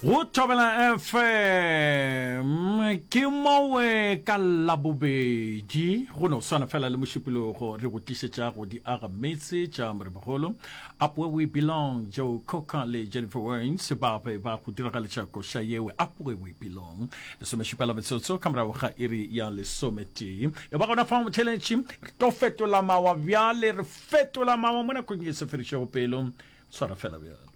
Go Thobela FM ke mowe ka Labobedi go no swana fela le Mošupologo re go tlišetša go di aga metse tša Morebogolo Up Where We Belong Joe Cocker le Jennifer Waynes ba be ba go diragaletša koša yewe Up Where We Belong lesomešupa la metsotso ka morago ga iri ya lesometee e ba gona fa motheletši re tlo fetola mawa bjale re fetola mawa mo nakong e se fedišego pelo tshwara fela bjalo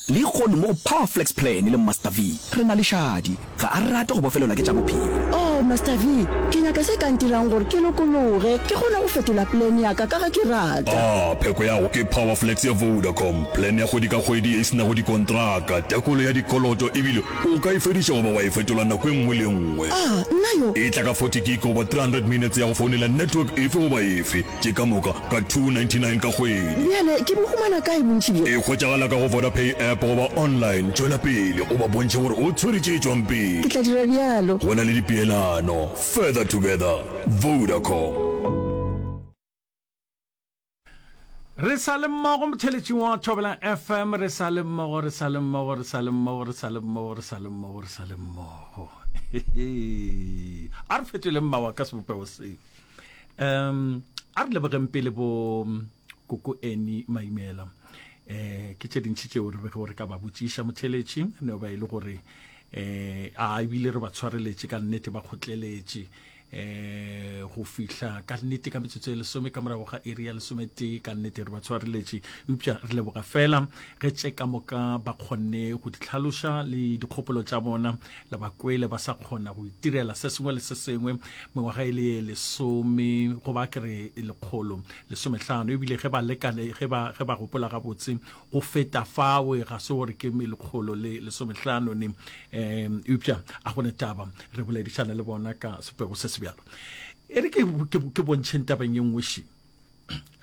Lehono mo go Power Flex Plan le Master V, re na le Shadi. Ga a rate go bofelelwa ke tša bophelo. Oh, Master V, ke nyaka se ka ntirang gore ke lokologe, ke kgone go fetola plan ya ka ka ge ke rata. Ah, pheko ya go ke Power Flex ya Vodacom, plan ya kgwedi ka kgwedi ye e se nago dikontraka, tekolo ya dikoloto ebile o ka e fediša goba wa e fetola nako e nngwe le e nngwe. Ah, nna yo! E tla ka 40 gig goba 300 minutes ya go founela network efe goba efe. Tše ka moka ka 299 ka kgwedi. Bjale ke bo humana kae bontši bjo? E hwetšagala ka go Vodapay app goba online. Tšwela pele o ba bontšhe gore o tshwere tše tšwang pele. Ke tla dira bjalo. Go na le dipeelano. Further together. Vodacom. Re sa le mmogo motheletšing wa Thobela FM, re sa le mmogo, re sa le mmogo, re sa le mmogo, re sa le mmogo, re sa le mmogo, re sa le mmogo. A re fetoleng mawa ka sebopego se. Um a re lebogeng pele bo koko Annie Maimela. Eh ke tše dintši tšeo re bego re ka ba botšiša motheletši ne ba e le gore eh a ebile re ba tshwareletše ka nnete ba kgotleletše eh go fihla ka nnete ka metsotso e lesome ka morago ga iri ya lesometee ka nnete re ba tshwareletše eupša re leboga fela ge tše ka moka ba kgonne go di hlaloša le dikgopolo tša bona le ba kwele ba sa kgona go itirela se sengwe le se sengwe mengwaga e le lesome goba ke re lekgolo lesomehlano ebile ge ba lekane ge ba ge ba gopola gabotse go feta fawe ga se gore ke lekgolo le lesomehlano ne um eupša a gone taba re boledišana le bona ka sepego se se bjalo e re ke, ke, ke bontšheng tabeng ye nngwe ši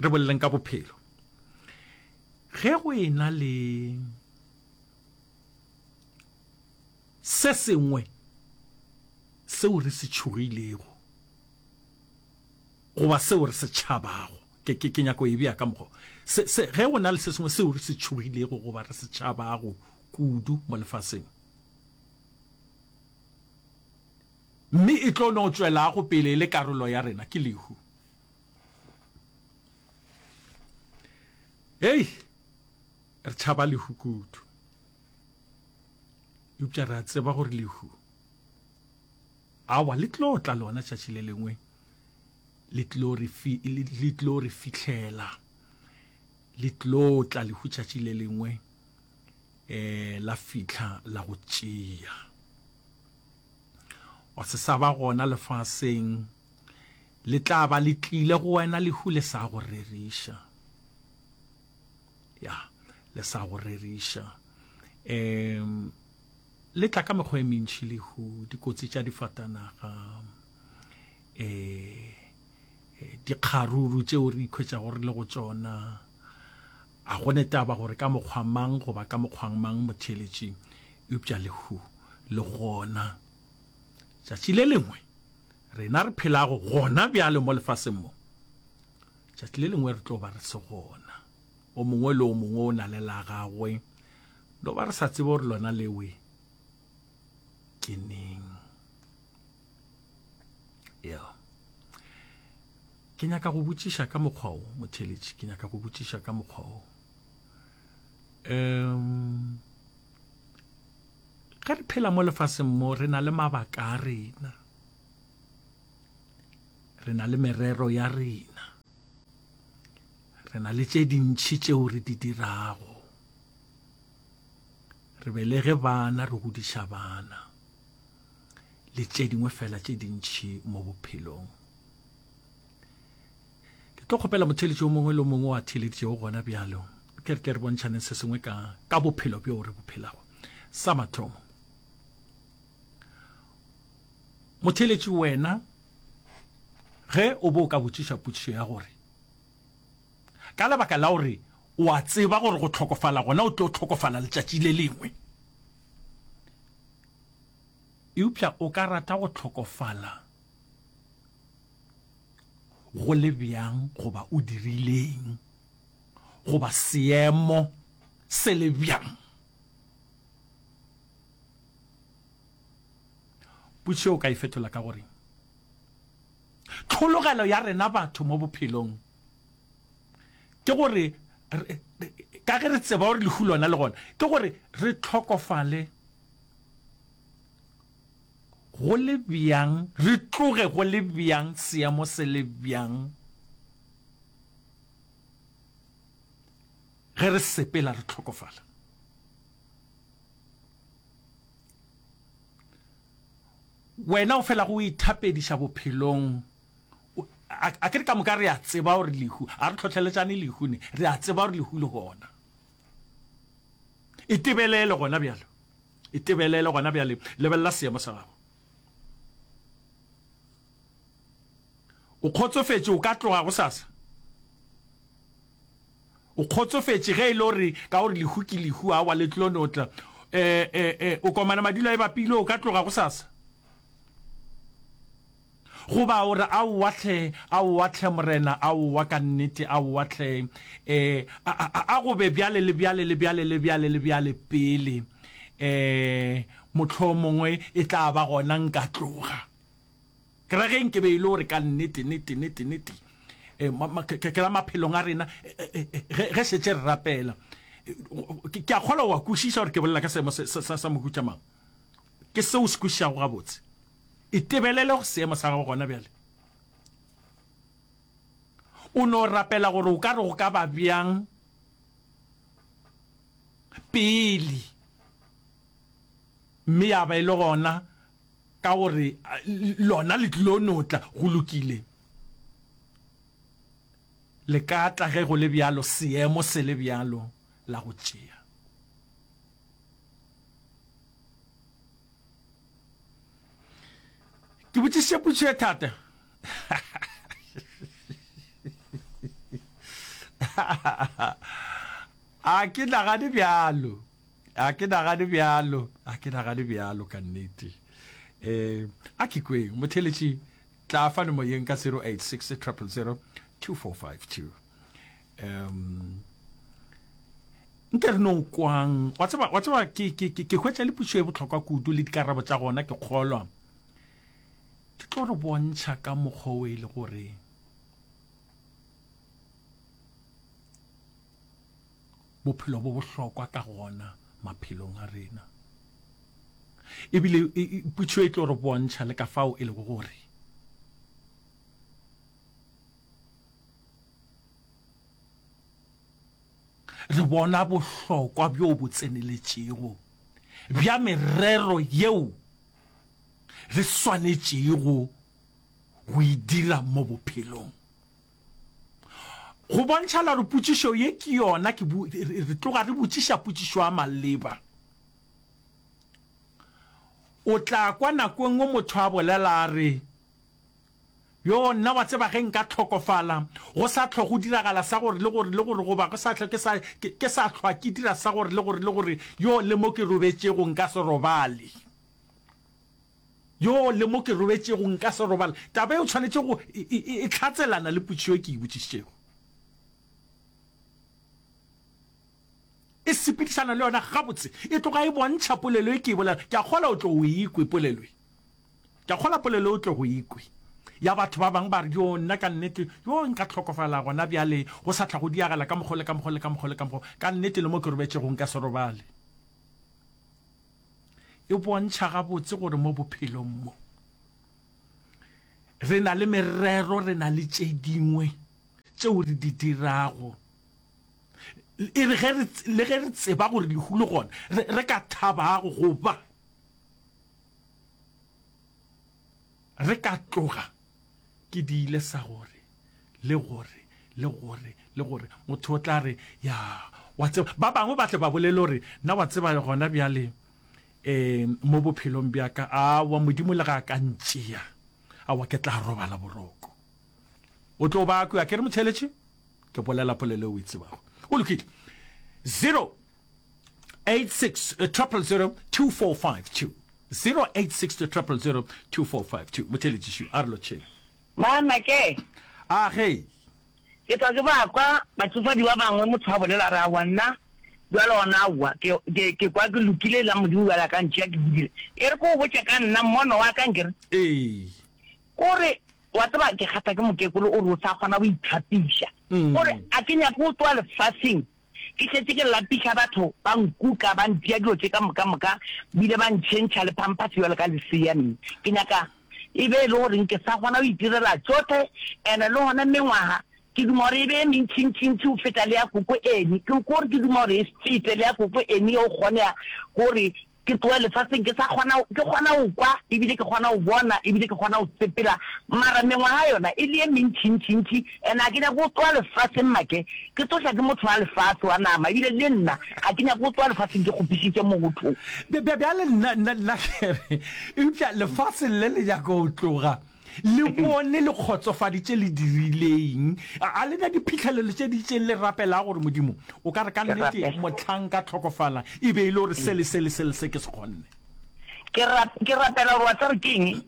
re boleleng ka bophelo ge go e na le Se sengwe seo re se tšhogilego goba seo re se tšhabago, ke, ke, ke nyako e bea ka mokgwa se, se, ge go na le se sengwe seo re se tšhogilego goba re se tšhabago kudu mo lefaseng, mme e tlo no tšwelago pele e le karolo ya rena, ke lehu. Hei, re tšhaba lehu kudu. Eupša re a tseba gore lehu, aowa, le tlo tla lona tšatši le lengwe, le tlo re, fi, le tlo re fihlela. Le tlo tla lehu tšatši le lengwe, eh, la fihla la go tšea. Wa se sa ba gona lefaseng, le tla ba le tlile go wena lehu le sa go reriša. Ya, le sa go reriša. Um, le tla ka mekgwa e mentši lehu, dikotsi tša difatanaga, eh, dikgaruru tšeo re ikhwetšago re le go tšona. A go ne taba gore ka mokgwa mang goba ka mokgwang mang motheeletši, eupša lehu le gona. Tšatši le lengwe rena re phelago gona bjale mo lefaseng mo, Tšatši le lengwe re tlo ba re se gona. O mongwe le o mongwe o na le la gagwe. No ba re sa tsebe gore lona lewe ke neng. Ya. Ke nyaka go botšiša ka mokgwa o, motheletši, ke nyaka go botšiša ka mokgwa o. Um, ge re phela mo lefaseng mo, re na le mabaka a rena. Re na le merero ya rena. Re na le tše dintši tšeo re di dirago. Re belege bana, re godiša bana, le tše dingwe fela tše dintši mo bophelong. Ke tlo kgopela motheeletši o mongwe le o mongwe wa theeleditšego gona bjalo, ke re tle re bontšhaneng se sengwe ka, ka bophelo bjo re bo phelago. Sa mathomo, Motheeletši wena, ge o be o ka botšiša potšišo ya gore, ka lebaka la gore o a tseba gore go hlokofala gona o tlo hlokofala letšatši le lengwe, eupša o ka rata go hlokofala go le bjang goba o dirileng goba seemo se le bjang? Potšišo o ka e fetola ka gore, Tlhologelo ya rena batho mo bophelong ke gore, ka ge re tseba gore lehu lona le gona, ke gore re hlokofale go le bjang, re tloge go le bjang, seemo se le bjang, ge re sepela re hlokofala. Wena o felago o ithapediša bophelong, a ke re ka moka re a tseba gore lehu, a re tlhohleletšane lehu ne, re a tseba gore lehu le gona. Itebelele gona bjalo, itebelele gona bjale, lebelela seemo sa gago. O kgotsofetše o ka tloga gosasa? O kgotsofetše ge e le gore ka gore lehu ke lehu, aowa le tlo no tla. E, e, e, o komana madilo a e bapile, o ka tloga gosasa? Goba o re, Aowa hle, aowa hle Morena, aowa ka nnete, aowa hle. E, a, a, a go be bjale le bjale le bjale le bjale le bjale pele. E, mohlomongwe e tla ba gona nka tloga. Ke ra ge nke be e le gore ka nnete, nete, nete, nete, eh, ke ra maphelong a rena, eh, eh, eh, ge šetše re rapela, ke a kgolwa wa kwešiša gore ke bolela ka seemo sa mohuta mang. Ke seo o se kwešišago gabotse. Itebelele go seemo sa gago gona bjale. O no rapela gore o ka re go ka ba bjang pele, mme ya ba e le gona Ka gore lona le tlilo no tla, go lokile. Le ka tla ge go le bjalo, seemo se le bjalo, la go tšea. Ke botšišitše potšišo e thata. A ke nagane bjalo. A ke nagane bjalo, a ke nagane bjalo ka nnete. Eh, a ke kweng, motheletši, tla fano moyeng ka 086 000 2452. Um, nke re no kwang, wa tseba, wa tseba ke, ke, ke, ke hwetša le pušo e bohlokwa kudu le dikarabo tša gona ke kgolwa. Ke tlo re bontšha ka mokgwa o e le gore bophelo bo bohlokwa ka gona maphelong a rena. Ebile potšo e tlo re bontšha le ka fao e lego gore re bona bohlokwa bjo bo tseneletšego bja merero yeo re swanetšego go e dira mo bophelong. Go bontšhala gore potšišo ye ke yona ke bu, re tloga re botšiša potšišo ya maleba. O tla kwa nako e nngwe motho a bolela a re, Yo, nna wa tseba ge nka hlokofala, go sa hlwa go diragala sa gore le gore le gore goba go sa hlwa ke sa, ke, ke sa hlwa ke dira sa gore le gore le gore, yo, le mo ke robetšego nka se robale. Yo, le mo ke robetšego nka se robala. Taba e o tshwanetše go e, e, e, e hlatselana le potšišo e ke e botšišitšego. E sepedišana le yona gabotse. E tloga e bontšha polelo e ke e bolela. Ke a kgola o tlo o e kwe polelo e. Ke a kgola polelo e o tlo go e kwe. Ya batho ba bangwe ba re, Yo, nna ka nnete, yo nka hlokofala gona bjale, go sa tla go diagala ka mokgo le ka mokgo le ka mokgo le ka mokgo. Ka nnete le mo ke robetšego nka se robale. E bontšha gabotse gore mo bophelong mo re na le merero, re na le tše dingwe tšeo re di dirago. E re ge re, le ge re tseba gore lehu le gona, re, re ka thabago goba re ka tloga ke diile sa gore le gore le gore le gore motho o tla re ya wa tseba ba bangwe ba tle ba bolele gore nna wa tseba gona bjale um mo bophelong bja ka awa modimo le ga a ka ntšea awa ke tla robala boroko o tlo ba kwe a ke re motheletše ke bolela polelo e o e tsebago o lokile 0 86 000 2452 086 000 2452 motheletši a re lotšheng Mama ke. A ge. Ke tla ke ba kwa batšofadi ba bangwe motho a bolela a re aowa nna. Bjale gona aowa, ke, ke, ke kwa ke lokile la Modimo bjale a ka ntšea ke godile. E re ke go botše ka nna, mmono wa ka nkere. Ee. O re, Wa tseba, ke kgatha ke mokekolo, o re o sa kgona go ithapiša. O re, A ke nyake go tloga lefaseng, ke šetše ke lapiša batho, ba nkuka, ba ntšea dilo tše ka moka moka, bile ba ntšhentšha le phamphase bjalo ka lesea. Mme ke nyaka e be e le gore nke sa kgona go itirela tšohle, and-e le gona mengwaga ke duma gore e be e mentšintšintši go feta le ya koko Annie. Ke gore ke duma gore e fete le ya koko Annie ge go kgonega, gore Ke tloge lefaseng ke sa kgona, ke kgona go kwa, ebile ke kgona go bona, ebile ke kgona go sepela, mara mengwaga yona e le ye mentšintšintši, and ga ke nyake go tloga lefaseng make ke tsoša ke motho wa lefase wa nama, ebile le nna ga ke nyake go tloga lefaseng ke kgopišitše motho. Bjale nna, nna, nna ke re, eupša lefase le le nyaka go tloga. Le bone le kgotsofaditše le dirileng. A, a le na diphihlelelo tše di itšeng le rapelago gore, Modimo, o ka re ka nnete mohlang nka hlokofala e be e le gore se le se le se le se ke se kgonne? Ke rap, ke rapela gore wa tseba gore ke eng?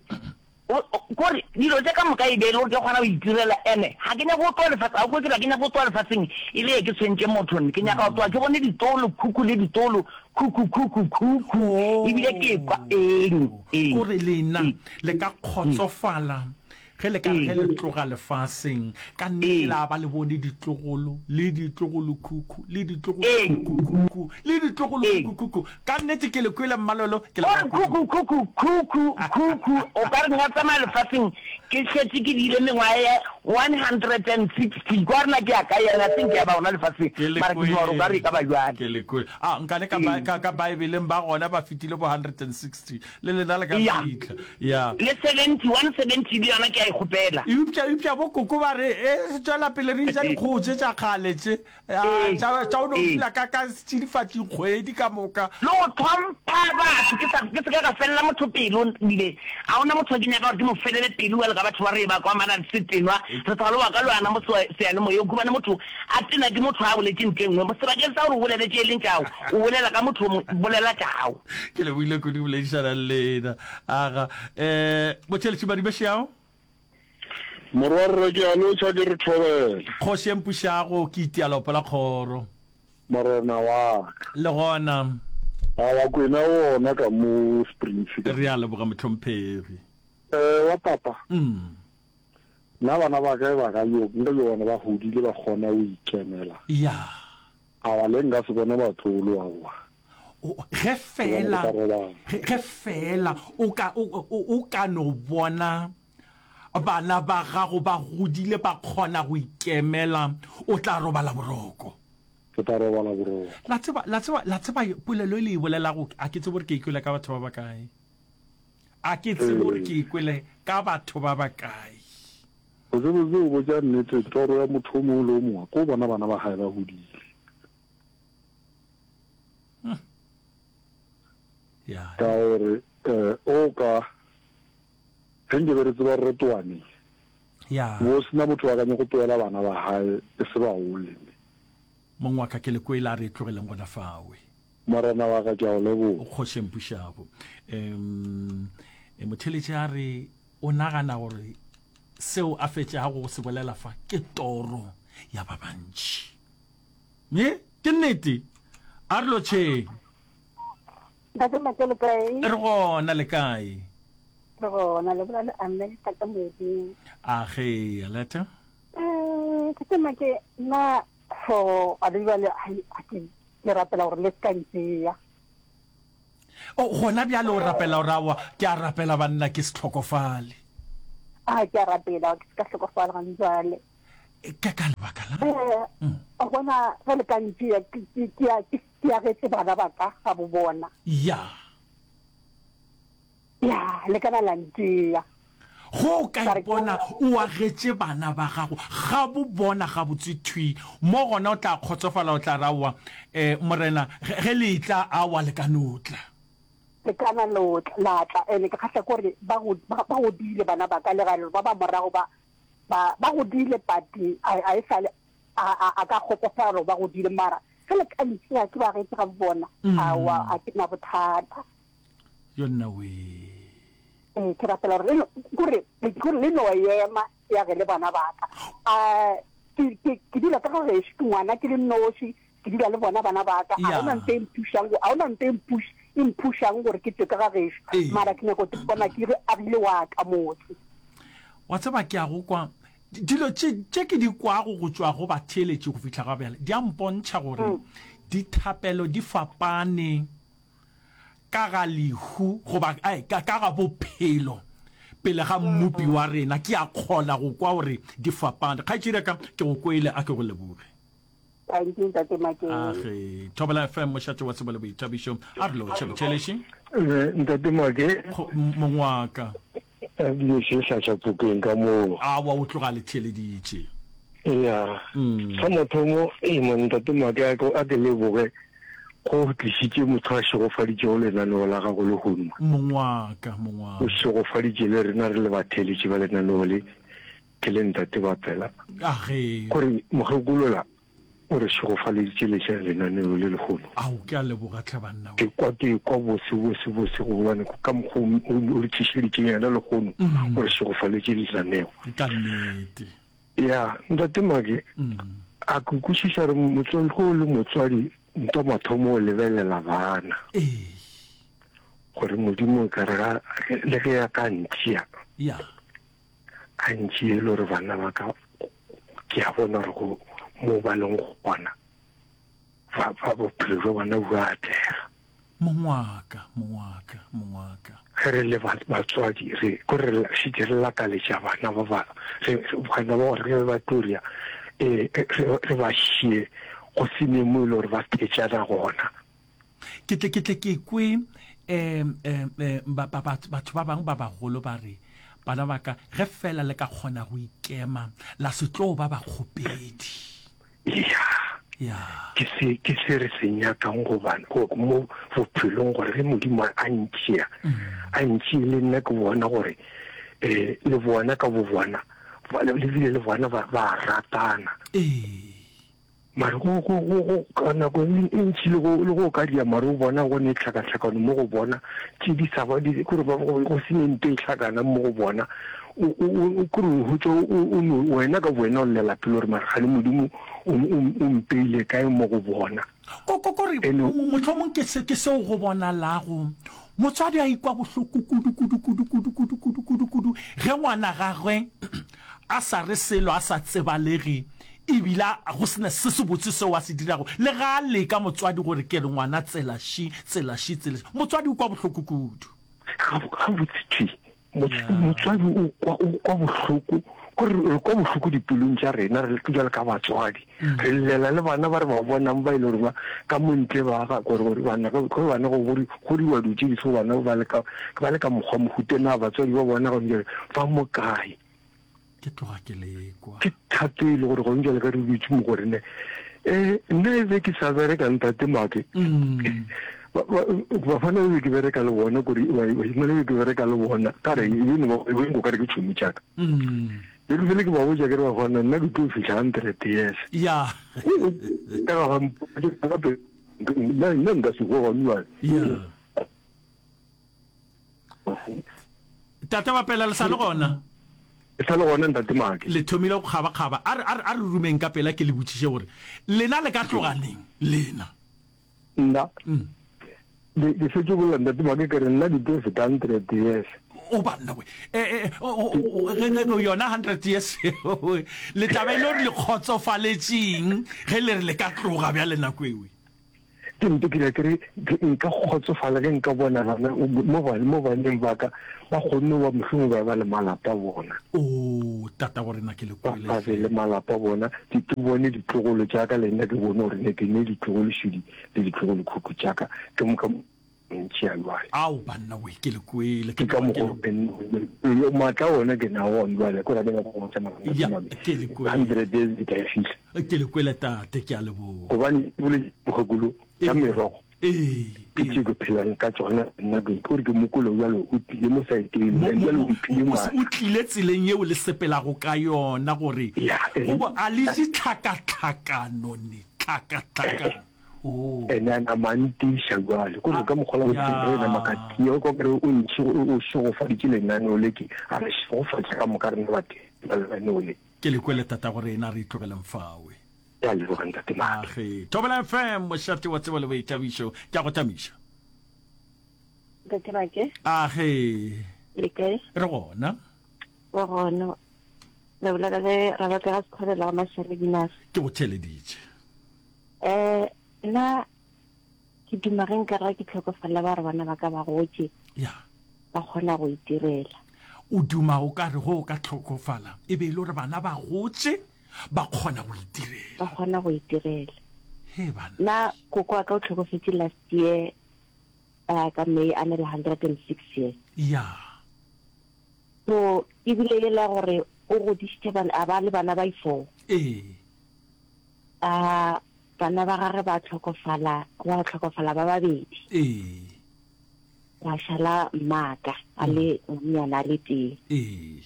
O, o, kore dilo tše ka moka e be e le gore ke kgona go itirela, ene ga ke nyake go tloga lefaseng, ga o kwe ke re ga ke nyake go tloga lefaseng e le ke tshwentše motho, nne ke nyaka go tloga ke bone ditolo, khukhu le ditolo, khukhu, khukhu, khukhu, ebile ke kwa, eng, eng. Kore lena le ka kgotsofala ge le ka re ge le tloga lefaseng, ka nnete la ba le bone ditlogolo, le ditlogolokhukhu, le ditlogolokhukhu, le ditlogolokhukhu. Ka nnete ke le kwele Mmalolo, ke leboga kudu. Khukhu, khukhu, khukhu, khukhu, o ka re nka tsamaya lefaseng ke šetše ke diile mengwaga ye 160, kwa rena ke ya kae yena, I think ya ba gona lefaseng, mara ke duma gore o ka re e ka ba bjale. Ke le kwele. A nkane ka, ka Baebeleng ba gona ba fetile bo 160. Le lena le ka Ya. fihla. Ya. Le 70, 170 le yona ke a e kgopela. Eupša, eupša bo koko ba re, E, tšwela pele re ja dikgogo tše tša kgale tše, a, Ee. tša, tša go no Ee. dula ka, ka setšidifatši kgwedi ka moka. Le go hlompha batho, ke sa, ke se ka ka felela motho pelo, ebile ga go na motho ke nyaka gore ke mo felele pelo bjalo ka batho ba re ba kwa mana se tenwa, re sa le wa ka le wena mo seyalemoyeng, khumane motho a tena ke motho a boletše ntho e nngwe, sebakeng sa gore o bolele tše e leng tša gago, o bolela ka motho o mongwe, bolela tša gago. Ke lebohile kudu go boledišana le lena. Aga, eh, Botšheletši Madibešeao. Morwarre ke a lotšha ke re thobela. Kgoši e mpušago ke itia leopo la kgoro. Morena wa ka. Le gona. Awa Kwena wona ka mo Springs ka. Re a leboga mohlomphegi. Eh wa papa. Mm. Nna bana ba ka e ba ka yo nka yo bona ba hodile ba kgona go ikemela. Ya. Awa le nka se bone batlogolo aowa. Ge feela, ge feela o ka, o, o, o ka no bona bana ba gago ba godile ba kgona go ikemela, o tla robala boroko. Ke tla robala boroko. La tseba, la tseba, la tseba polelo e le e bolelago, a ke tsebe gore ke e kwele ka batho ba bakae. A ke tsebe gore ke e kwele ka batho ba bakae. Botsebotse o botša nnete, toro ya motho o mongwe le o mongwe ke go bona bana ba gae ba godile. Ka gore um o ka ge nke be re tseba gore re toa neng, bo sena motho wa ka nyako toela bana ba gae e se bagole. Mong wa ka ke le kwele a re e tlogeleng gona fawe. Morena wa ka ke a o leboga. O kgoši e mpušago. Um motheeletši a re o nagana gore seo a fetšago go se bolela fa ke toro ya ba bantši. Me ke nnete. A re lotšheng. Ntate Make le kae? Re gona le kae? Re gona le bolela le Aletta ka moeding. A ge Aletta. Eh, Ntate Make nna for a le jwale a ke ke rapela gore le se ka ntšea. O gona bjale o rapela gore aowa ke a rapela banna ke se hlokofale. A ke a rapela ke se ka hlokofala gane jwale. Ke ka lebaka la. Eh, o bona ge le ka ntšea ke ke ke a ke ke agetse bana ba ka ga bo bona. Ya. Ya, le ka na la ntšea. Go o ka ipona o agetše bana ba gago ga bo bona gabotse thwi mo gona o tla kgotsofala o tla re aowa eh Morena ge ge le etla aowa le ka no tla. Le ka na lo tla la tla ene ke kgahla ke gore ba go ba godile bana ba ka le ga ba ba morago ba Ba, ba godile, but a, a e sa le, a, a, a ka kgotsofala gore ba godile, mara ge le ka ntšea ke ba getše ga bona, aowa, a ke na bothata. Yo nna wee. Ee, ke rapela gore le no, kore, kore le no ema ya ge le bana ba ka. A, ke, ke, ke dula ka ga gešo, ke ngwana ke le nnoši. Ke dula le bona bana ba ka. A gona nto e mphušang, a gona nto e mpuš, e mphušang gore ke tšwe ka ga gešo. Mara ke nyaka go ipona ke re agile wa ka motse. Wa tseba, ke a go kwa. Dilo tše, tše ke di kwago go tšwa go batheeletši go fihla ga bjale, di a mpontšha gore dithapelo di fapane ka ga lehu goba ai, ka, ka ga bophelo pele ga Mmopi wa rena. Ke a kgona go kwa gore di fapane. Kgaetšedi ya ka, ke go kwele, a ke go leboge. Thank you, Ntate Makeng. Age, Thobela FM, mošate wa tsebo le boithabišo. A re lotšhe, botšheleši. Eh, Ntate Make. Mong wa ka. Ebile se hlatša pokeng ka moo. Awa, o tloga a le theeleditše. Ya. Sa mathomo, ee man, Ntate Make, a ke, a ke leboge go tlišitše motho a šegofaditšego lenaneo la gago lehono. Mong wa ka, mong wa ka. O šegofaditše le rena re le batheeletši ba lenaneo le. Ke le ntate ba pela. Age. Gore mokgekolola o re šegofaleditše letša lenaneo le lehono. Ao, ke a leboga tlhe banna we. Ke kwa ke kwa bose bose bose gobane ka mokgwa o re tlišeditšeng yena lehono, o re šegofaletše lenaneo. Ka nnete. Ya, ntate Make, a ke kwešiša gore motswadi, ge o le motswadi, ntwa mathomo o lebelela bana. Ee. Gore Modimo e ka re ga, le ge a ka ntšea. Ya. Gantši e le gore bana ba ka ke a bona gore go mo ba leng gona ba ba bophelo jwa bona bo a atlega. Mong wa ka, mong wa ka, mong wa ka. Ge re le batswadi re ko re šetše re lakaletša bana ba ba re bana ba gore ge ba tlo ria eh re ba šie go se ne mo e le gore ba thetšana gona. Ke tle ke tle ke kwe um um um ba, ba, batho ba bangwe ba bagolo ba re, Bana ba ka, ge feela le ka kgona go ikema, la se tlo ba bakgopedi. Ya. Ya. Ke se, ke se re se nyakang go ba, go, mo bophelong, gore ge Modimo a ntšea, a ntšee le nna ke bona gore, eh, le bona ka bobona, ba, le bile le bona ba, ba ratana. Ee. Mare go, go, go, go, ka nako e, e ntši le go, le go ka dia, mare o bona go ne tlhakatlhakano mo go bona, tše di sa ba, di, kore ba, go, go se ne nto e hlakanang mo go bona. O, o, o, kore o hwetša o, o, o no, wena ka bowena o llela pelo gore mare kgane Modimo o, o, o mpeile kae mo go bona. Ko, ko, kore, Ene. mohlomong ke se, ke seo go bonalago motswadi a ikwa bohloko kudu, kudu, kudu, kudu, kudu, kudu, kudu, kudu, ge ngwana gagwe a sa re selo, a sa tsebalege, E bile go se na se sebotse seo a se dirago. Le ga a leka motswadi gore ke re ngwana tsela ši, tsela ši, tsela ši. Motswadi o kwa bohloko kudu. Gabotse thwi, motswadi o kwa, o kwa bohloko, ko re, re kwa bohloko dipelong tša rena, re bjalo ka batswadi. Re llela le bana ba re ba bonang ba e le gore ba ka mo ntle ba ga, gore, gore bana, ge bana go godi, godiwa dilo tše di so bana ba le ka, ba le ka mokgwa mohuta, na batswadi ba bona gone bjale ba mo kae? Ke tloga ke lekwa. Ke thato e le gore gone jale ka re dutse mo go rene. Eh, nna e be ke sa bereka ntate Make. Mm. Bafana e be ke bereka le bona kore bašemane e be ke bereka le bona ka re e be e be nko ka re ke tšhomi tšaka. Mm. Be ke fele ke ba botša ke re bafana nna ke tlo fihla 100 years. Ya. Ka ga gape nna nna nka se go gone jwale. Ya. Tate Bapela le sa le gona? E sa le gona ntate Make. Le thomile go kgabakgaba. A re, a re, a re rumeng ka pela ke le botšiše gore lena le ka tloga neng? Lena. Nna? Mm. Ke, ke šetše bolela ntate Make ke re nna ke tlo feta 100 years. O banna we. E, e, o, yona 100 years le tla ba e le gore le kgotsofaletšeng ge le re le ka tloga bjale nako ewe? Ke mpe ke ke re nka kgotsofala ge nka bona bana mo mo baneng ba ka ba kgonne ba mohlomongwe ba ba le malapa a bona. Oo, tata go rena ke le kwele. Ba be le malapa a bona, ke ke bone ditlogolo tša ka le nna ke bone gore ne ke ne ditlogolo šodi le ditlogolo khukhu tša ka ke moka ntši a jwale. Ao banna we ke le kwele. Ke ka mokgwa maatla ona ke na one jwale ko ra ke nyaka go tsamaya. Ya, ke le kwele. 100 days di tla e fihla. Ke le kwele tate, ke a leboga. Gobane ke boletše mokgekolo ka merogo. Ee. Ke tše ke phelang ka tšona nna ke gore ke mokolo bjalo o tlile mo saeteng bjalo o mphile matla. O tlile tseleng yeo le sepelago ka yona gore go bo a le je tlhakatlhakano ne tlhakatlhakano. Oh. Ene a nama a ntiša bjale kore ka mokgwa la bophelo re nama ka tia o kwa kare o ntšhi o šegofaditše lenaneo le ke a re šegofatše ka moka rena batho ba lenaneo le. Ke le kwele tatago rena, re itlogeleng fawe. Ke a leboga Ntate Make. Age. Thobela FM, mošate wa tsebo le boithabišo. Ke a go tamiša. Ntate Make. Age. Le kae? Re gona. Re gona. Re bolela le Rabaka ga Sekgobela wa Mashare Dinare. Ke go theeleditše. Eh, nna ke duma ge nka ra ke tlhokofala ba re bana ba ka ba gotše. Ya. Ba kgona go itirela. O duma o ka re go o ka tlhokofala e be e le gore bana ba gotše ba kgona go itirela. Ba kgona go itirela. He bana. Nna koko wa ka o tlhokofetše last year uh, ka May a na le 106 years. Ya. So ebile e la gore o godišitše bana a ba le bana ba i-four. Ee. A bana ba gage ba tlhokofala, gwa tlhokofala ba babedi. Ee. Gwa šala mmaka a le ngwanyana a le tee. Ee.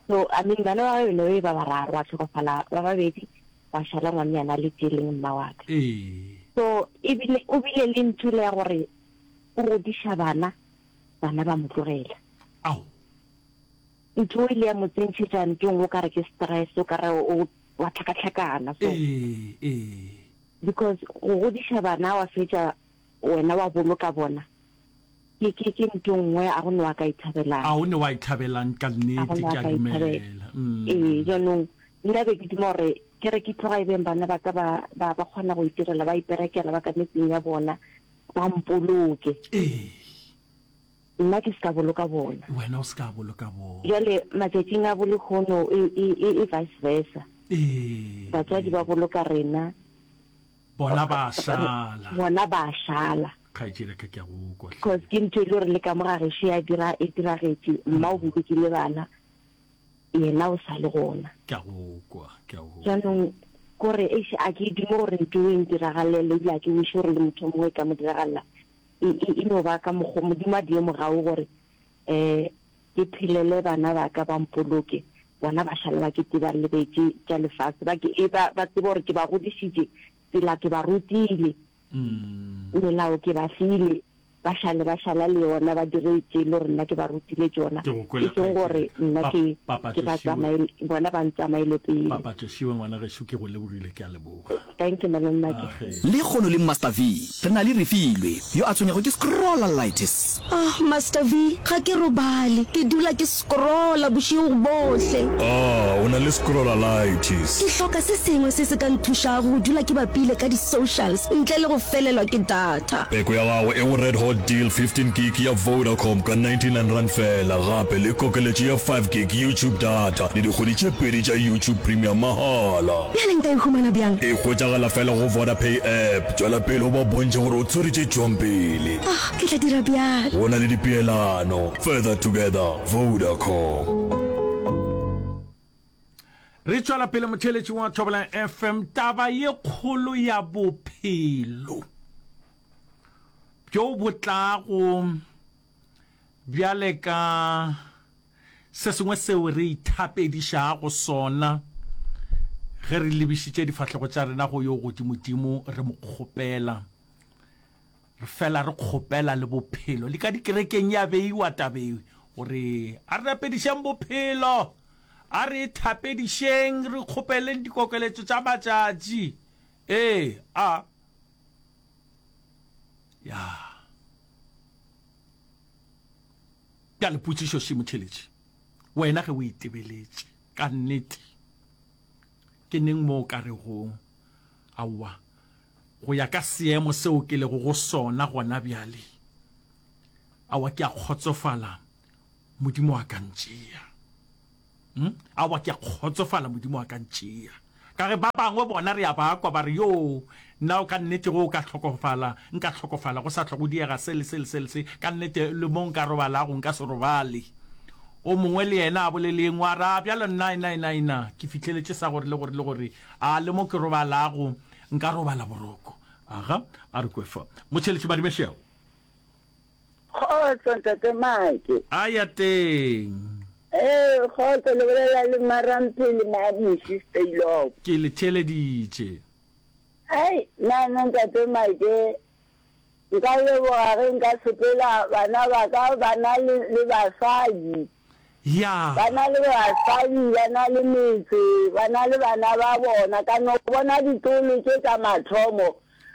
So I mean bana ba gage e ba bararo, gwa tlhokofala ba babedi, gwa šala ngwanyana a le tee leng mma wa ka. Ee. So ebile o bile le ntho le ya gore o godiša bana, bana ba mo tlogela. Ao. Ntho e ile ya mo tsentšhetša ntong o ka re ke stress, o ka re o wa tlhakatlhakana so. Ee, ee. Because go godiša bana wa fetša wena wa boloka bona ke ke ke ntho nngwe a go ne wa ka ithabelang. A o ne wa ithabelang ka A go nnete ne wa ke a ka ithabela. dumela. Mm. Ee, jaanong nna be ke duma gore ke re ke tloga e beng bana ba ka ba ba ba kgona go itirela ba iperekela ba ka metseng ya bona ba mpoloke. Ee. Nna ke se ka boloka bona. Wena o se ka boloka bona. Bjale matšatšing a bolehono e, e, e, e vice versa. Ee. Batswadi ba boloka rena. Bona ba a šala. Bona ba a šala. Kgaetšedi ka ke a go kwa. Cause ke ntho e le gore le ka mo ga gešo ya dira e diragetše. Mma o bolokile bana, yena o sa le gona. Ke a go kwa, ke a go. Jaanong kore eish a ke dume gore ntho e ntiragalele ebile a ke wish gore le motho o mongwe e ka mo diragalela. E, e, e no ba ka mokgo Modimo a die mogau gore um ke phelele bana ba ka ba mpoloke, bona ba šale ba ke tseba lebetše tša lefase, ba ke, e, ba, ba tsebe gore ke ba godišitše, tsela ke ba rutile, melao ke ba file, ba šale ba šala le yona, ba dire tše e le gore nna ke ba rutile tšona, Ke go kwele e seng gore kgaetšedi. nna Pa, ke, Papa ke ba Tlošiwe. tsamaele, bona ba ntsamaele pele. Papa Tlošiwe ngwana gešo ke go lebogile ke a leboga. Thank you malome Make. Age. Lekgono le Master V re na le Refilwe yo a tshwenyago ke scrollalitis. Ah, Master V, ga ke robale. Ke dula ke scrolla bošego bohle. Ah, o na le scrollalitis. Ke hloka se sengwe se se ka nthušago go dula ke bapile ka di-socials ntle le go felelwa ke data. Peko ya gago e go Red Hot Deal 15 gig ya Vodacom ka R99 feela, gape le kokeletšo ya 5 gig YouTube data le dikgwedi tše pedi tša YouTube Premium mahala. Bjale nka e humana bjang? E hwetšagala feela go Vodapay app. Tšwela pele o ba bontšhe gore o tshwere tše tšwang pele. Ah, ke tla dira bjalo. Go na le dipeelano. Further together, Vodacom. Re tšwela pele motheeletši wa Thobela FM, taba ye kgolo ya bophelo bjo bo tlago bjale ka se sengwe seo re ithapedišago sona ge re lebišitše difahlego tša rena go yo godimodimo re mo kgopela. Re fela re kgopela le bophelo. Le ka dikerekeng ya beiwa tabe gore a re rapedišeng bophelo, a re ithapedišeng, re kgopeleng dikokeletšo tša matšatši. Ee, a. Ya. Bjale potšišo še motheletši, wena ge o itebeletše ka nnete, ke neng mo o ka rego aowa go ya ka seemo seo ke lego go sona gona bjale, aowa ke a kgotsofala, Modimo a ka ntšea. Hmm? Aowa ke a kgotsofala, Modimo a ka ntšea. Ka ge ba bangwe bona re a ba kwa ba re, Yoo, nna ka nnete go ka hlokofala, nka hlokofala go sa hlwa go diega se le se le se le se, ka nnete le mo nka robalago nka se robale. O mongwe le yena a bolele ye nngwe a re, A bjalo nna, nna, nna, nna, ke fihleletše sa gore le gore le gore, a le mo ke robalago nka robala boroko. Aga, a re kwe fa. Motšheletši Madimešego. Kgotso Ntate Mike. A ya teng. Ee, kgotso le bolela le Maramphele Mamuši Steylock. Ke le theeleditše. Ai, nna nna Ntate Mike nka leboga ge nka sepela bana ba ka ba na le, le basadi. Ya. Ba na le basadi, ba na le metse, ba na le bana ba bona. Ka no bona ditolo tše tša mathomo.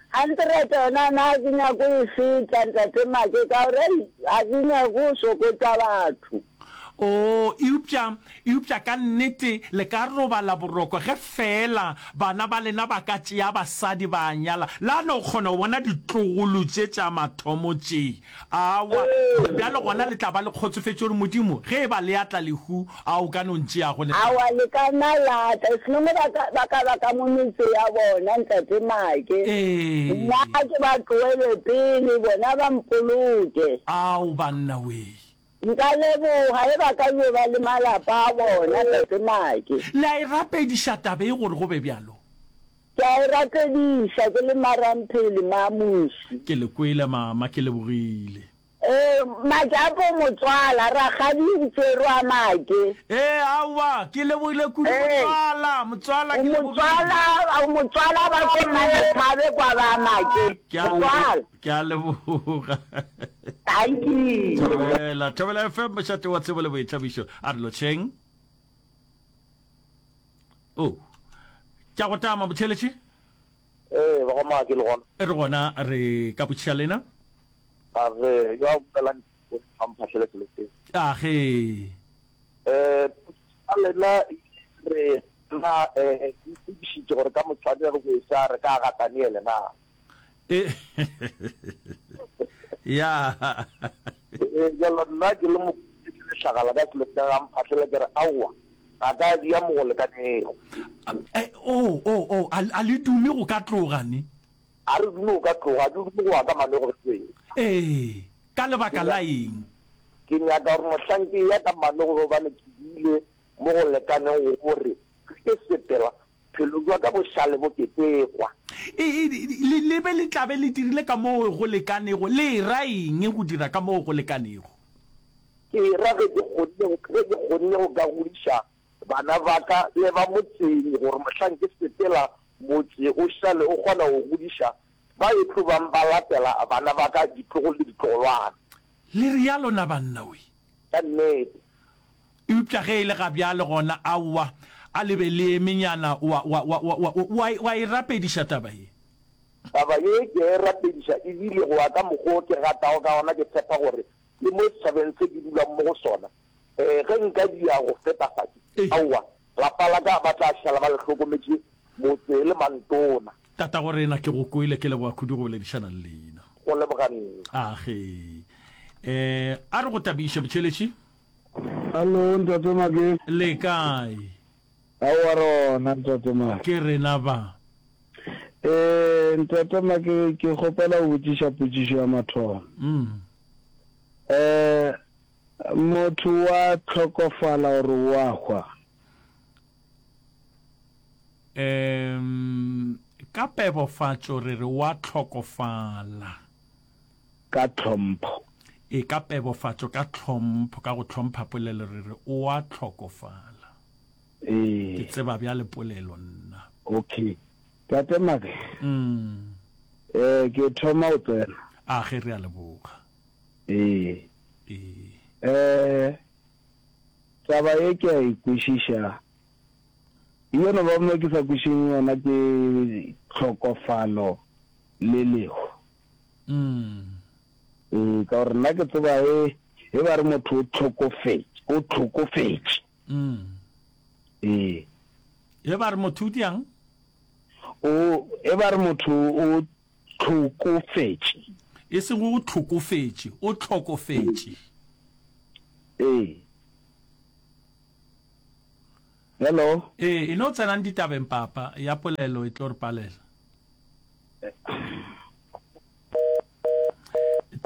Hundred yona nna ga ke nyake go e feta, Ntate Make, ka gore ei, ga ke nyake go sokotša batho. Oo, eupša, eupša ka nnete le ka robala boroko ge feela bana ba lena ba ka tšea basadi ba nyala, la no kgona go bona ditlogolo tše tša mathomo tše. Aowa, bjale gona le tla ba le kgotsofetše gore Modimo, ge e ba le atla lehu, a o ka no ntšeago le tla. Aowa, le ka nna la tla, e seng ba ka, ba ka ba ka mo metse ya bona, Ntate Make. Ee. Nna ke ba tlohele pele, bona ba mpoloke. Ao, banna wee. Nka leboga ge ba ka yo ba le malapa a bona, Tate Make. Le a e rapediša taba ye gore go be bjalo? Ke a e rapediša ke le Maramphele, Mamuši. Ke le kwele, Mama, ke lebogile. Ee, Majapo motswala, rakgadi o tšerwe a Make. Ee, aowa, ke lebogile kudu, motswala, motswala, ke lebogile. Motswala, motswala ba ko Mmalethabe kwa ba Make, motswala. Ke a leboga. Dankie. Thobela, Thobela FM, mošate wa tsebo le boithabišo. A re lotšheng. Oh. Tša go tama motheletši? Ee, ba ga Maake le gona. Re gona re ka botšiša lena. A re yo a bolelang o a mphahlele selo seo. A ge. Eh, a lena re na eh itokišitše gore ka motshwane re go esa re ka ga Daniele na. E ya. Eh, jalo nna ke le mo lehlagala ka selo sa ga mphahlele ke re aowa ga ka dia mo go lekanego. Eh, oh, oh, oh, a, a le dume go ka tloga ne? A re dume go ka tloga, a ke dume go ya ka manego re Ee, ka lebaka la eng? Ke nyaka gore mohlang ke ya ka manego gobane ke bile mo go lekanego gore ge ke sepela Bophelo bja ka bo šale bo ketekwa. E, e, le, le be le tla be le dirile ka moo go lekanego. Le e ra eng go dira ka moo go lekanego? Ke e ra ge ke kgonne, ge ke kgonne go ka godiša bana ba ka le ba motseng gore mohlang ke sepela motse o šale o kgona go godiša ba e tlo bang ba latela bana ba ka, ditlogolo le ditlogolwana. Le realo na banna we? Ka nnete. Eupša ge e le ga bjale gona, aowa, a le be le emenyana, wa, wa, wa, wa, wa, wa, wa e rapediša taba ye. Taba ye ke a e rapediša, e bile go ya ka mokgwa o ke ratago ka gona, ke tshepa gore le mo setšhabeng se ke dulang mo go sona, eh, ge nka dia go feta fa, ke, aowa, lapa la ka ba tla šala ba le hlokometše motse le mantona. Tatagorena, ke go kwele, ke leboga kudu go boledišana le lena. Go leboga nna. Age. Eh, a re go tabiše, Botšheletši. Hallo, Ntate Make. Le kae? Aowa re gona, Ntate Make. Ke rena ba. Eh, Ntate Make, ke kgopela go botšiša potšišo ya mathomo. Mm. Eh, motho wa hlokofala gore wa hwa? Um, ka pebofatšo re re wa hlokofala. Ka tlhompho. E, ka pebofatšo, ka tlhompho, ka go hlompha polelo re re o a hlokofala. Ee. Ke tseba bjale polelo nna. Okay. Tate Make. Mm. Eh, ke thoma go tsena. A ge re a leboga. Ee. Ee. Eh, taba ye ke a e kwešiša. Yo no ba mo ke sa kwešišeng yona ke tlhokofalo le lehu. Mm. Ee, ka gore nna ke tseba e, e ba re motho o tlhokofetše, o tlhokofetše. Mm. Ee. E ba re motho o diang? O, e ba re motho o tlhokofetše. E seng o tlhokofetše, o tlhokofetše. Ee. Hello? Ee, e no tsenang ditabeng papa, ya polelo e tlo re palela.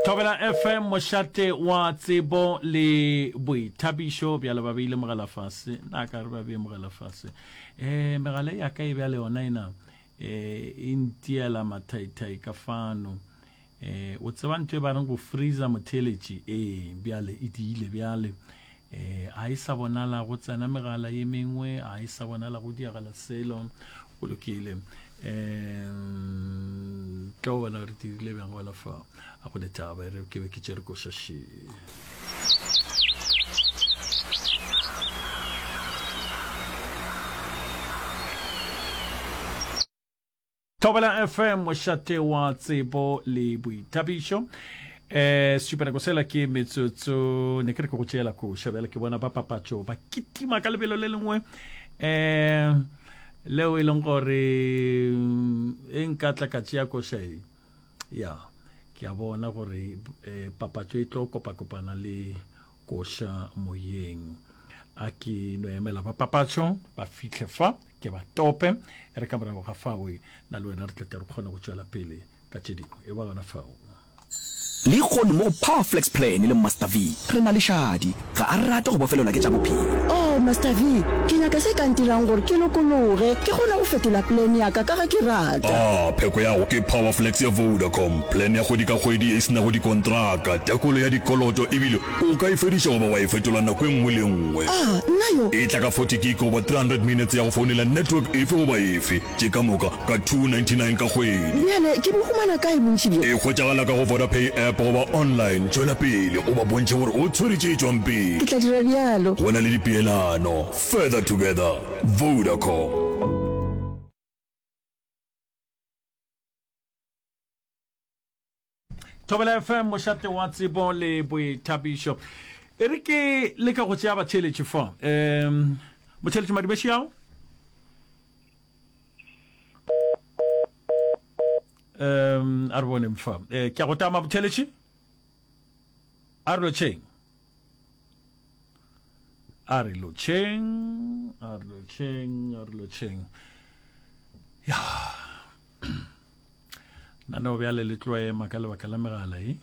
Thobela FM mošate wa tsebo le boithabišo bjale ba beile mogala fase na ka re ba beye mogala fase um megala ya ka e bjale yona ena um e ntiela mathaithai ka fano um o tseba ntho e ba reng go freezer motheeletši ee bjale e diile bjale um a e sa bonala go tsena megala ye mengwe a e sa bonala go diagala selo go lokile um tlo bona re dirile bjang gona fa a go letaba e re ke be ke tšere koša še. Thobela FM, mošate wa tsebo le boithabišo. Eh, sesupanako sela ke metsotso, ne ke re ke go tšeela koša, bjale ke bona ba papatšo ba kitima ka lebelo le lengwe eh leo e leng gore mm, e nka tla ka tšea koša e ya ke a bona gore eh, papatšo e tlo kopakopana le Koša moyeng. A ke no emela ba papatšo ba fihle fa, ke ba tope. E re ka morago ga fao, nna le wena re tle tle re kgone go tšwela pele ka tše dingwe. E ba gona fao. Lehono mo go Power Flex Plan le Master V re na le Shadi. Ga a rate go bofelelwa ke tša bophelo. Oh, Master V, ke nyaka se ka ntirang gore ke lokologe, ke kgone go fetola plan ya ka ka ge ke rata. Ah, pheko ya go ke Power Flex ya Vodacom, plan ya kgwedi ka kgwedi e se nago dikontraka, tekolo ya dikoloto ebile O ka e fediša goba wa e fetola nako e nngwe le e nngwe. A, nna yo. E tla ka 40 gig goba 300 minutes ya go founela network efe goba efe, tše ka moka ka 299 ka kgwedi. Bjale ke bo humana kae bontši bjo? E hwetšagala ka go Vodapay app goba online. Tšwela pele o ba bontšhe gore o tshwere tše tšwang pele. Ke tla dira bjalo. Go na le dipeelano. Further together. Vodacom. Thobela FM mošate wa tsebo le boithabišo. E re ke leka go tšea batheeletši fa. Um motheeletši Madibeši ao? Um a re boneng fa. Eh, ke a go tama motheeletši? A re lotšheng. A re lotšheng, a re lotšheng, a re lotšheng. Ya. Naneo bjale le tlo ema ka lebaka la megala e.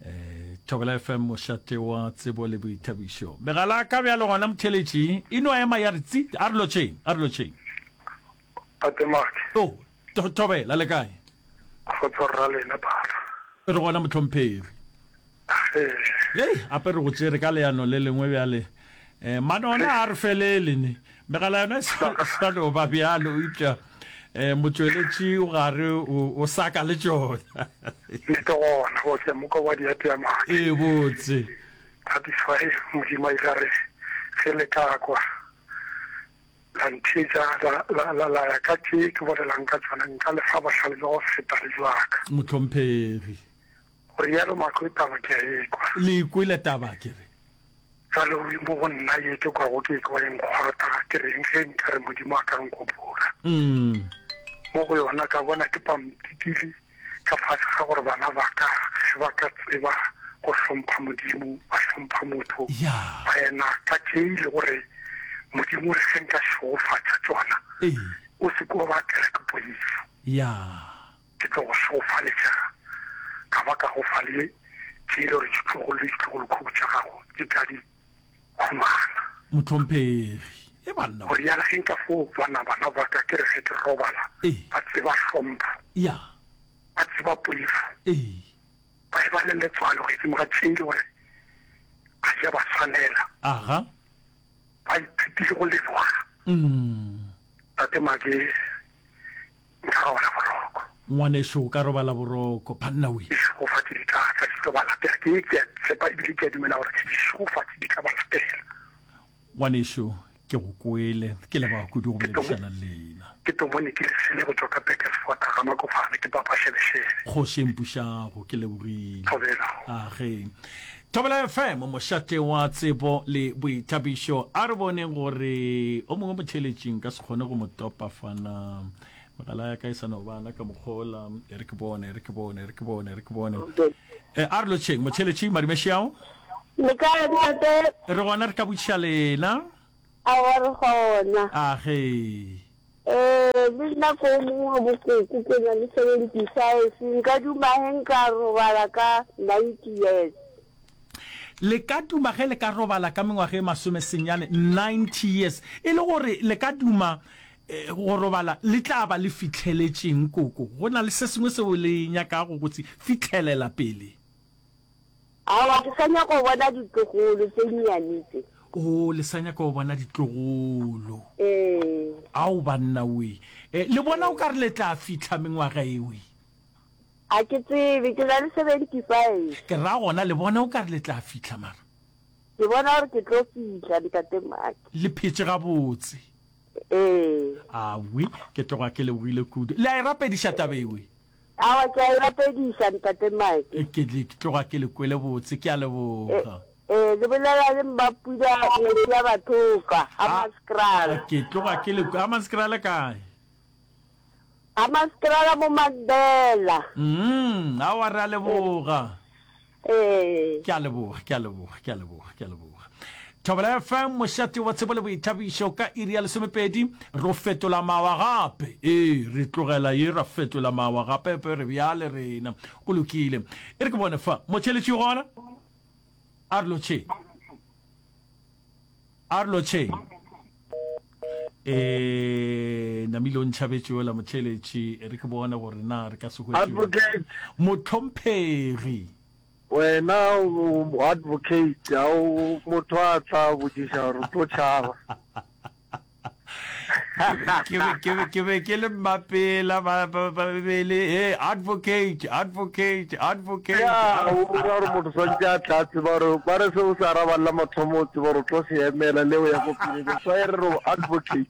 Eh, Thobela FM mošate wa tsebo le boithabišo. Megala ka bjale gona motheletši e no ema ya re tsi a re lotšheng, a re lotšheng. Tate Mark. Oh, Thobela le kae? Kgotso rra lena papa. Re gona mohlomphegi. Hei, ape re go tšere ka leano le lengwe bjale. Eh, mano ona a re felele ne. Megala yona e sa e sa no ba bjalo, eupša eh, motšweletši o gare o, o saka le tšona. Nnete gona, botse moko wa diateamake. Ee, botse. That is why Modimo a ile a re ge le ka kwa la ntheetša la, la, la, la ya ka tše ke bolelang ka tšona, nka le fa bohlale bja go feta le bjaka. Mohlomphegi. Go rialo Makwe, taba ke a e kwa. Le e kwele taba ke re. Bjale o mo go nna ye ke kwago ke ekwa e nkgwata, ke reng ge nka re Modimo a ka nkopola. Mo go yona ka bona ke pampitili ka fase ga gore bana ba ka ge ba ka tseba go hlompha Modimo, ba hlompha motho, ba ena ka tše e le gore Modimo o re ge nka šegofatša tšona, o se ke wa ba tlela ke poifo. Ke tlo go šegofaletša ka ba ka go fa le tše e le gore ditlogolo le ditlogolokhukhu tša gago di tla di humana. Mohlomphegi, e banna. Go rialo ge nka fo bona bana ba ka ke re ge ke robala ba tseba hlompho, ba tseba poifo, ba eba le letswalo godimo ga tše e le gore ga di a ba swanela, ba ithutile go leboga. Tate Make. Nka robala boroko. Ngwanešu, o ka robala boroko. Banna we. Dišegofatši di tla tla, di tlo ba latela. Ke, ke a tshepa ebile ke a dumela gore dišegofatši di tla ba latela. Ngwanešu, ke go kwele. Ke leboga kudu go boledišana le lena. Ke Tomone ke Lesele go tšwa ka Burgersfort, ga Makofane, ke papa Šebešebe. Kgoši e mpušago, ke lebogile. Thobela. Age. Thobela FM, mošate wa tsebo le boithabišo. A re boneng gore o mongwe motheeletši nka se kgone go mo topa fana. Megala ya ka e sa no bana ka mokgola. E re ke bone, e re ke bone, e re ke bone, e re ke bone. E, a re lotšheng, motheeletši Madimešiao. Le kae ntate? Re gona re ka botšiša lena. Aowa re gona. Age. Ee, le nna ko mongwe wa bokoko ke na le 75, nka duma ge nka robala ka 90 years. Le ka duma ge le ka robala ka mengwaga e masomesenyane, 90 years, e le gore le ka duma go robala le tla ba le fihleletšeng koko? Go na le se sengwe seo le nyakago go se fihlelela pele? Aowa, ke sa nyaka go bona ditlogolo tše nnyane tše. Oo, le sa nyaka go bona ditlogolo? Ee. Ao, banna we. E, le bona o ka re le tla fihla mengwaga e we? A ke tsebe, ke na le 75. Ke ra gona, le bona o ka re le tla fihla mara? Ke bona gore ke tlo fihla, Ntate Maki. Le phetše gabotse. Ee. Awi, ke tloga ke lebogile kudu. Le a e rapediša taba ewe? Awa, ke a e rapediša, Ntate Mike. Ke, ke tloga ke le kwele botse, ke a leboga. Ee, le bolela le Mmapula ngwetši ya Bathoka, Hammanskraal. Ke tloga ke le, Hammanskraal kae? Hammanskraal mo Mandela. Mm, awa re a leboga. Ee. Ke a leboga, ke a leboga, ke a leboga, ke a leboga. Thobela FM, mošate wa tsebo le boithabišo ka iri ya lesomepedi, ro fetola mawa gape. Ee, re tlogela ye ra fetola mawa gape, pe re bjale rena. Go lokile. E re ke bone fa, motheeletši o gona? A re lotšheng. A re lotšheng. E namile o ntšhabetše yola motheeletši, e re ke bone gore na re ka se hwetše. Advocate. Mohlomphegi. Wena o advocate, ga o motho a tla botšiša gore o tlo tšhaba. Ke be, ke be, ke be ke le mmapela ba, ba, ba be le hey, advocate, advocate, advocate. Ya, o ra gore motho swantše a tla tseba gore ba re se o se arabang la mathomo o tseba gore o tlo se emela le o ya ko pele. That's why re re o advocate.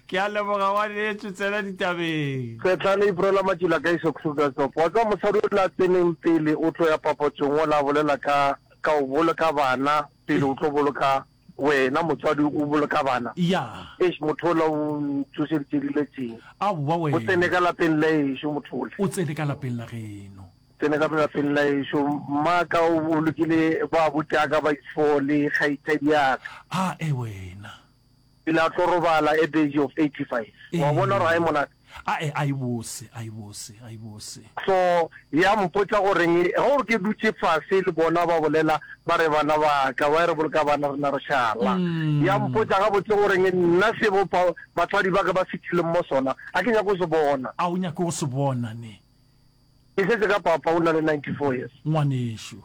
Ke a leboga ngwanešu, tsena ditabeng. Setlane Iprola Matšila ka iso Krugersdorp. Wa tseba mosadi o la tseneng pele o tlo ya papatsong o la bolela ka ka o boloka bana pele o tlo boloka Wena motswadi o boloka bana? Ya. Eish, motho ola o ntsošeditše dilo tše. Aowa wena. O tsene ka lapeng la ešo motho ola. O tsene ka lapeng la geno. Tsene ka lapeng la ešo. Mmaka o bolokile ba abuti-aka ba ifo le kgaitšadi ya ka. A e wena. Pele a tlo robala at the age of 85. Wa bona gore ga e monate? Ae, a e bose, a e bose, a e bose. So, ya mpotša goreng, ge o re ke dutše fase le bona ba bolela, ba re bana ba ka, ba re boloka bana rena re šala. Ya mpotša gabotse goreng nna se bo batswadi ba ka ba fetileng mo sona, ga ke nyake go se bona. A o nyake go se bona, ne? Ke šetše ka papa, o na le 94 years. Ngwanešu.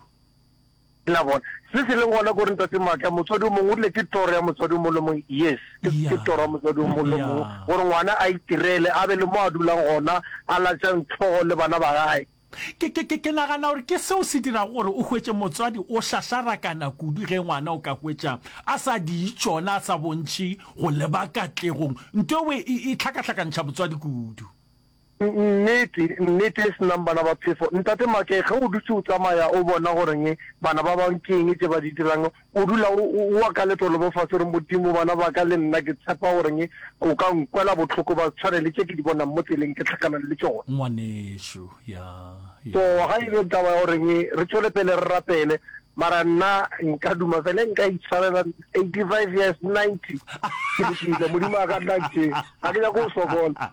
La bona? Se se leng gona ke gore Ntate Maatla, motswadi o mongwe o rile ke toro ya motswadi o mongwe le mongwe, yes, ke, ke toro ya motswadi o mongwe le mongwe gore ngwana a itirele, a be le mo a dulang gona, a latšang hlogo le bana ba gae. Ke, ke, ke, ke nagana gore ke seo se dirago gore o hwetše motswadi o šašarakana kudu ge ngwana o ka hwetša a sa di tšona, a sa bontšhe go leba katlegong. Nto eo e, e hlakahlakantšha motswadi kudu. Nnete, nnete e se nang bana ba phefo. Ntate Make, ge o dutše o tsamaya o bona goreng bana ba bang ke eng tše ba di dirang, o dula o, o wa ka letolo mo fase o re, Modimo, bana ba ka le nna ke tshepa goreng o ka nkwela bohloko ba tshwane le tše ke di bonang mo tseleng ke hlakanang le tšona. Ngwanešu, ya, ya. So ga e be taba ya goreng re tšwele pele re rapele, mara nna nka duma fela nka itshwarela 85 years, 90, ke lokile, Modimo a ka nna ntšee, ga ke nyake go sokola.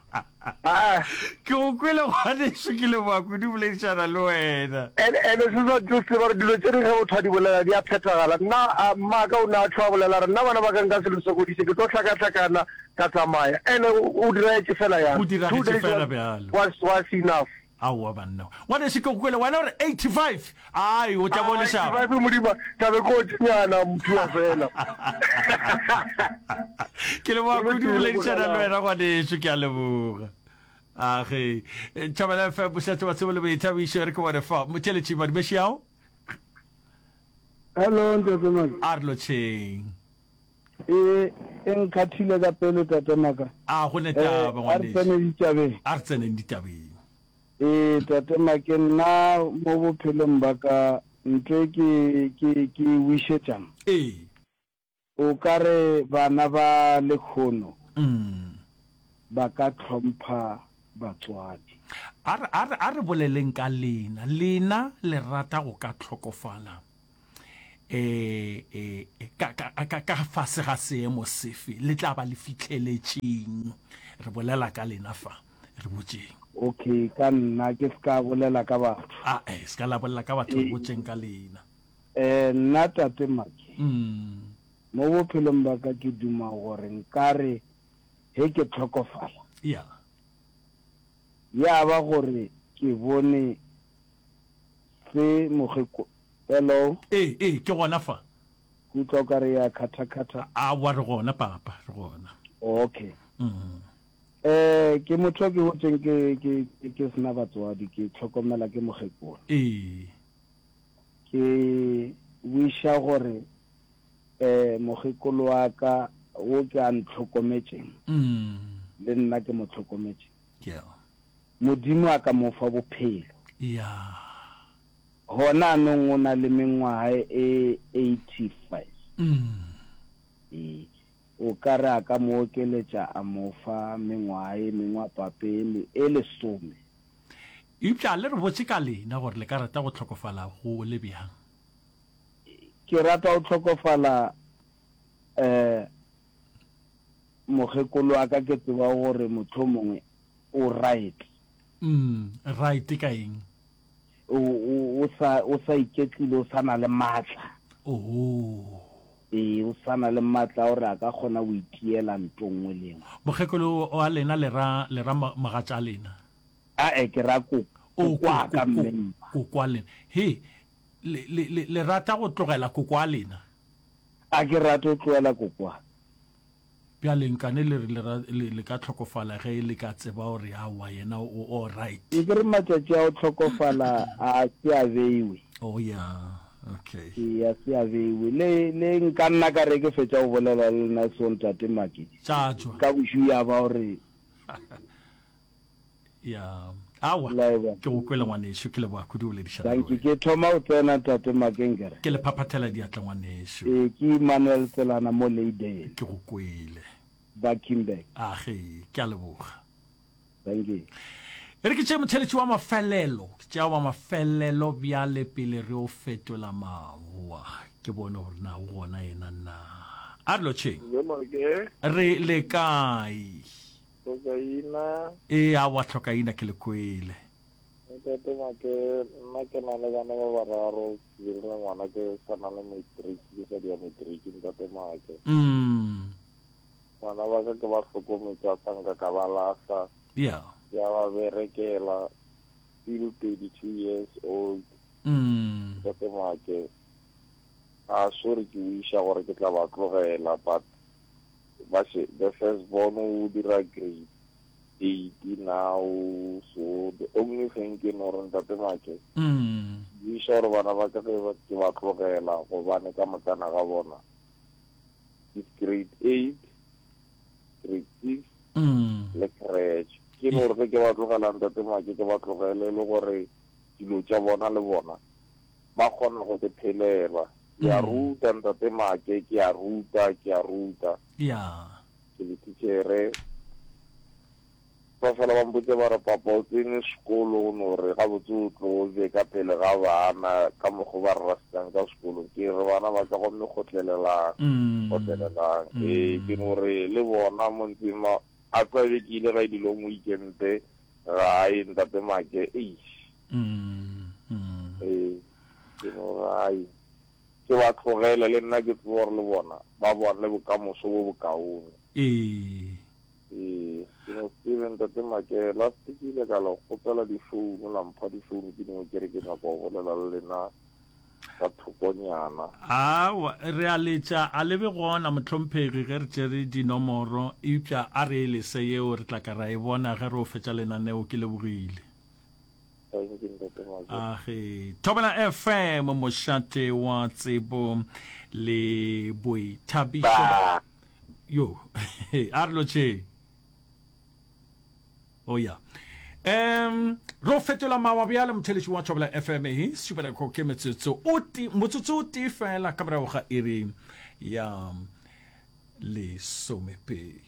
Aa. Ke go kwele ngwanešu, ke leboga kudu boledišana le wena. And, and se sa tlo tseba gore dilo tše dingwe ge motho a di bolela di a phethagala. Nna, a, mmaka o ne a tlo a bolela a re, nna bana ba ka nka se le sokodiše, ke tlo hlakahlakana ka tsamaya. And o, o diragetše fela yalo. Go Two diragetše days fela was, bjalo. was, was enough. Aowa banna. Ngwanešu ke go kwele, wena o re 85, ai o tla bo Ah, lešaba. 85 Modimo, tla be ke otšenyana mphiwa fela. Ke leboga Go kudu lokile, boledišana le lebogelang. wena ngwanešu, ke a leboga. Age, Thobela FM, mošate wa tsebo le boithabišo, re ke bone fa. Motheeletši Madumeši ao? Hello, Ntate Maka. A re lotšheng. E, e nkgathile ka pele, Tate Maka. A go ne taba, Eh, a re ngwanešu. tsene ditabeng. A re tseneng ditabeng. Ee, Tate Make, nna mo bophelong ba ka, ntho e ke, ke, ke e wišetšang. Ee. O ka re bana ba lekhono Mm. ba ka hlompha batswadi. A re, a re, a re boleleng ka lena. Lena le rata go ka hlokofala e, e, ka, ka, ka, ka fase ga seemo sefe? Le tla ba le fihleletšeng? Re bolela ka lena fa. Re botšeng. Okay, ka nna, ke se ka bolela ka batho. A, e, se ka la bolela ka batho, re botšeng ka lena. Eh, nna Tate Maki, Mm. mo bophelong ba ka ke duma gore nkare ge ke hlokofala, Ya. ya ba gore ke bone se mokgeko. Hello? Ee, ee, ke gona fa. Ke utlwa o ka re ya khatha-khatha. Aowa, re gona, papa, re gona. Okay. Mm. Eh, ke motho o ke gotšeng ke, ke, ke, ke sena batswadi, ke hlokomela ke mokgekolo. Ee. Ke wiša gore, eh, mokgekolo wa ka. wo ke a ntlhokometšeng, le nna ke mo hlokometše. Yeah. Modimo a ka mo fa bophelo. Yeah. Gona anong o na le mengwaga e 85. Ee. O ka re a ka mo okeletša a mo fa mengwaga e mengwe a pape e lesome. Eupša le re botše ka lena gore le ka rata go hlokofala go le bjang. Ke rata go hlokofala um mokgekolo wa ka ke tseba gore mohlomongwe o right. Mm, right ka eng? O, o, o sa, o sa iketlile, o sa na le matla. Oh. Ee, o sa na le matla a gore a ka kgona go itiela nto nngwe le nngwe. Mokgekolo wa lena le ra, le ra mogatša lena? Ae, ke ra ko, Oh, koko wa ka ko, mme mma. koko wa lena. He, le, le, le, le rata go tlogela koko wa lena? A ke rate go tlogela koko wa ka. Bjale nkane le re le, le, le ka hlokofala ge le ka tseba gore aowa yena o, o right. Nke re matšatši a go hlokofala a se a beiwe. Oh yeah, okay. Ee, a se a beiwe. Le, le nka nna ka re ke fetša go bolela le lena so Ntate Makedi. Tša tšwa. Ka bošu ya ba gore. Ya, aowa, ke go kwele ngwanešu, ke leboga kudu go boledišana le Dankie, wena. ke thoma go tsena Ntate Makenkere. Ke le phaphathela diatla ngwanešu. Ee, ke Emmanuel Tselana mo Leidale. Ke go kwele. Buckingburg. Age, ke a leboga. Dankie. E re ke tšee motheletši wa mafelelo, ke tšea wa mafelelo bjale pele re o fetola mawa, ke bone gore na o gona yena na. A re lotšheng. Re le kae? Hlokaina. Ee, aowa Hlokaina ke le kwele. Ntate Make, nna ke na le bana ba bararo, ke dirile ngwana ke sa na le matric, ke sa dia matric ntate Make. Mm. Bana ba ka ke ba hlokometše a sa nka ka ba lahla. Yeah. Ke a ba berekela, still 32 years old. Mm. Ntate Make, a sure ke wiša gore ke tla ba tlogela but ba še the first born o dira grade 8 now so the only thing ke no re ntate make mm. buisa gore bana ba ka ge ke ba tlogela gobane ka mokana ga bona is grade 8 grade 6 mm. le crèche ke no re ge ke ba tlogela ntate make ke ba tlogele le gore dilo tša bona le bona ba kgona go se phelela Ke a ruta, Ntate Make, ke a ruta, ke a ruta. Ya. Ke le tichere. Ba fela ba mpotse ba re, Papa, o tsene sekolo, o no re gabotse o tlo be ka pele ga bana ka mokgo ba re rasitang ka sekolong. Ke re bana ba ka gomme kgotlelelang, kgotlelelang. Ee, ke no re le bona mo ntseng ma, a tla be ke ile ga e di-long weekend gae, Ntate Make, eish. Ee. Ke no re, Ai, ke ba tlogele, le nna ke tsebe gore le bona ba bone bokamoso bo bokaone. Ee. Ee, ke no tsebe, Ntate Make, last ke ile ka le kgopela difounu, la mpha difounu tše dingwe, ke re ke nyaka go bolela le lena ka thokonyana. Aowa, re a letša, a le be gona, mohlomphegi, ge re tšere dinomoro, eupša a re e lese yeo, re tla ka ra e bona ge re o fetša lenaneo. Ke lebogile. Age. Thobela FM, mošate wa tsebo le boithabišo. Yo, a re lotšheng. Oh ya. Um, ro fetola mawa bjale motheletši wa Thobela FM e šupela ko ke metsotso o tee motsotso o tee fela ka morago ga iri ya lesomepedi.